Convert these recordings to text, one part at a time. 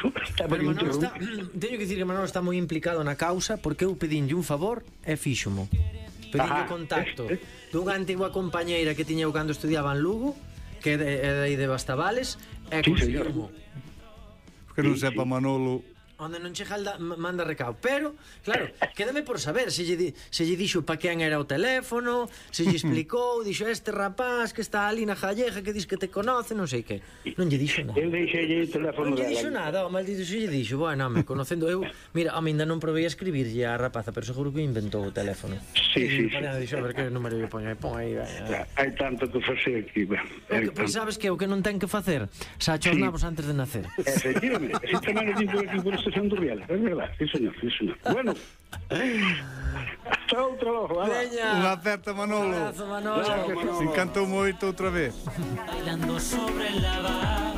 Pero Manolo está, teño que dicir que Manolo está moi implicado na causa, porque eu pedinlle un favor e fíxomo. Pedinlle contacto dunha antigua compañeira que tiña eu cando estudiaba en Lugo, que é de aí de Bastavales, e conseguirmo. Que non sepa Manolo. Onde non che manda recao. Pero, claro, quédame por saber se lle dixo pa quen era o teléfono, se lle explicou, dixo este rapaz que está ali na Jalleja que dis que te conoce, non sei que. Non lle dixo nada. Eu deixei o teléfono dela. Non lle dixo nada, o maldito se lle dixo. Bueno, home, conocendo eu, mira, ainda non provei a escribirlle a rapaza, pero seguro que inventou o teléfono. Sí. Dixo, a ver que número lle pon aí. Hai tanto que facer aquí. Pois sabes que o que non ten que facer, xa os nabos antes de nacer. Efectivamente, así tamén o digo aquí por estación do Riel, é verdade, sí señor. Bueno, hasta outra logo, unha aperta Manolo. Un abrazo, Manolo. Se encantou moito outra vez. Bailando sobre el lava,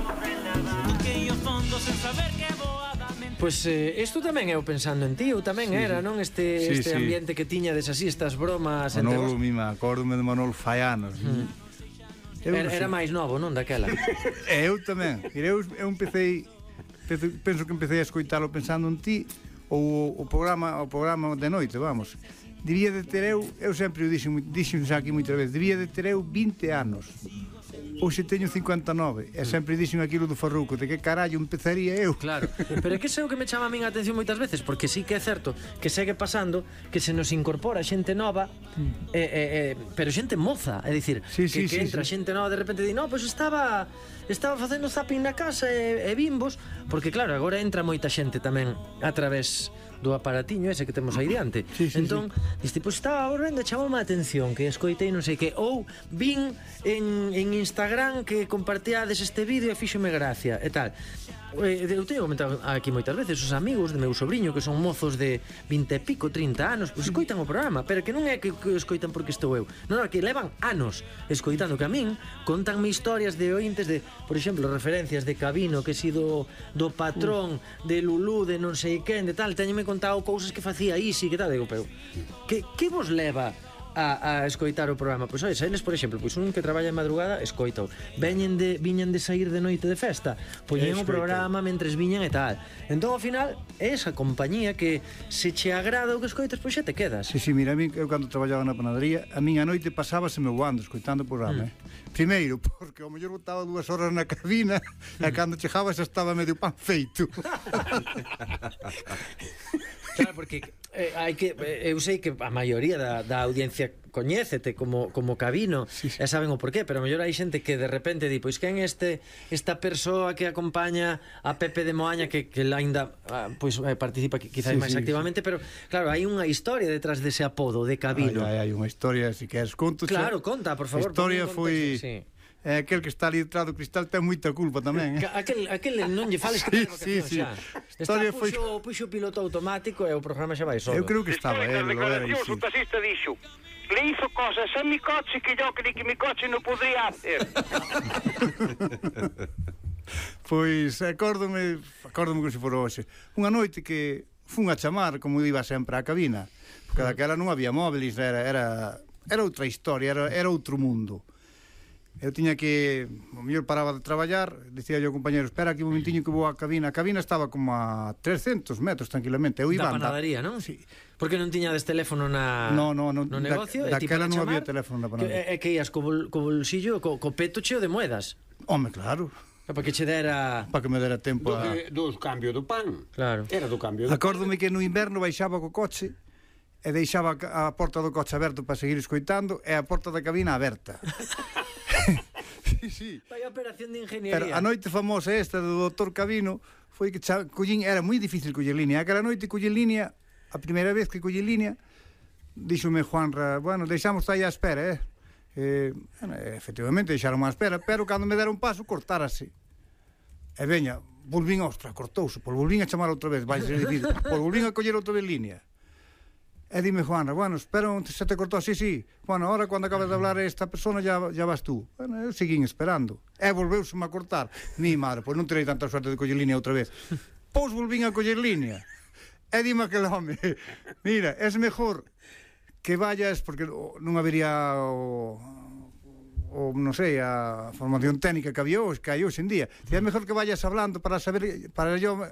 aquellos fondos sen saber que voadamente. Pois isto tamén eu pensando en ti, eu tamén era, non? Este ambiente que tiñades así, estas bromas. Manolo, mima, acórdome de Manolo fai anos. Era máis novo, non, daquela? Eu tamén. Eu empecé, penso que empecé a escoitalo pensando en ti, ou o programa de noite, vamos. Debía de ter eu sempre o dixen aquí moitas veces, debía de ter eu 20 anos. Hoxe teño 59 e sempre dixen aquilo do Farruco, de que carallo empezaría eu. Claro, pero é que sei o que me chama a min a atención moitas veces, porque sí que é certo que segue pasando que se nos incorpora xente nova, pero xente moza, é dicir, que entra xente nova de repente e di, no, pois estaba facendo zapping na casa e bimbos, porque claro, agora entra moita xente tamén a través do aparatiño ese que temos aí diante. Entón, diste, pois estaba volvendo, chamoume a atención que escoitei non sei que, ou vin en Instagram que compartíades este vídeo e fíxome gracia e tal. Eu teño comentado aquí moitas veces, os amigos de meu sobrinho que son mozos de 20 e pico, 30 anos, pois escoitan o programa, pero que non é que escoitan porque estou eu, non, que levan anos escoitando, que a min contanme historias de ointes de, por exemplo, referencias de Cabino, que si do patrón, de Lulú, de non sei quen, de tal, teñome contado cousas que facía Isi, que tal, digo, pero que vos leva a escoitar o programa? Pois ois, eles, por exemplo, pois un que traballa en madrugada escoita, viñan de sair de noite de festa, poñen o programa mentres viñan e tal. Entón, ao final, é esa compañía que se che agrada o que escoitas, pois xa te quedas. Sí, mira, eu cando traballaba na panadería, a min a noite pasábaseme voando escoitando o programa, Primeiro, porque ao mellor botaba 2 horas na cabina e cando chegaba xa estaba medio pan feito. Claro, porque hai que eu sei que a maioría da audiencia coñécete como Cabino, e saben o porqué, pero a mellor hai xente que de repente di, pois quen esta persoa que acompaña a Pepe de Moaña que aínda pois participa quizás máis activamente, pero claro, hai unha historia detrás dese apodo de Cabino. Hai unha historia, se queres conto. Claro, conta, por favor. A historia foi aquel que está ali detrás do cristal ten moita culpa tamén. Aquel non lle fales que ten vocación xa. Historia foi puxo piloto automático e o programa xa vai solo. Eu creo que estaba él, lo era. O taxista dixo, le hizo cosas a mi coche que yo creí que mi coche non podría hacer. Pois acórdome como se fora hoxe. Unha noite que fun a chamar, como iba sempre á cabina, porque daquela non había móviles, era outra historia, era outro mundo. Eu tiña que, o mellor paraba de traballar, dicía yo ao compañero, espera aquí un momentiño que vou á cabina. A cabina estaba como a 300 metros tranquilamente. Eu iba da panadería, non? Sí. Porque non tiñades teléfono no negocio? Daquela non había teléfono na panadería. E que ías co bolsillo, co peto cheo de moedas? Home, claro. Para que che dera... Para que me dera tempo dos cambios do pan. Claro. Era do cambio do pan. Acórdome que no inverno baixaba co coche e deixaba a porta do coche aberto para seguir escoitando e a porta da cabina aberta. Sí. Vai operación de ingeniería. Pero a noite famosa esta do Dr. Cabino foi que collín, era moi difícil coller línea. Aquela noite coller línea, a primeira vez que coller línea, díxome Juanra, bueno, deixamos aí á espera, efectivamente deixaron á espera, pero cando me deron paso cortárase. E veña, volvín, ostra, cortouse, por volvín a chamar outra vez, vai ser difícil, por volvín a coller outra vez línea. E dime Juanra, bueno, espero, se te cortou, sí, bueno, ahora cando acabas de hablar esta persona ya vas tú. Bueno, eu seguín esperando. E volveuseme a cortar. Mi madre, pois non terei tanta suerte de coller línea outra vez. Pois volvín a coller línea. E dime aquel home, mira, es mejor que vayas, porque non habería o non sei, a formación técnica que había hoxe, que hai hoxe en día. É mellor que vayas hablando para saber, para yo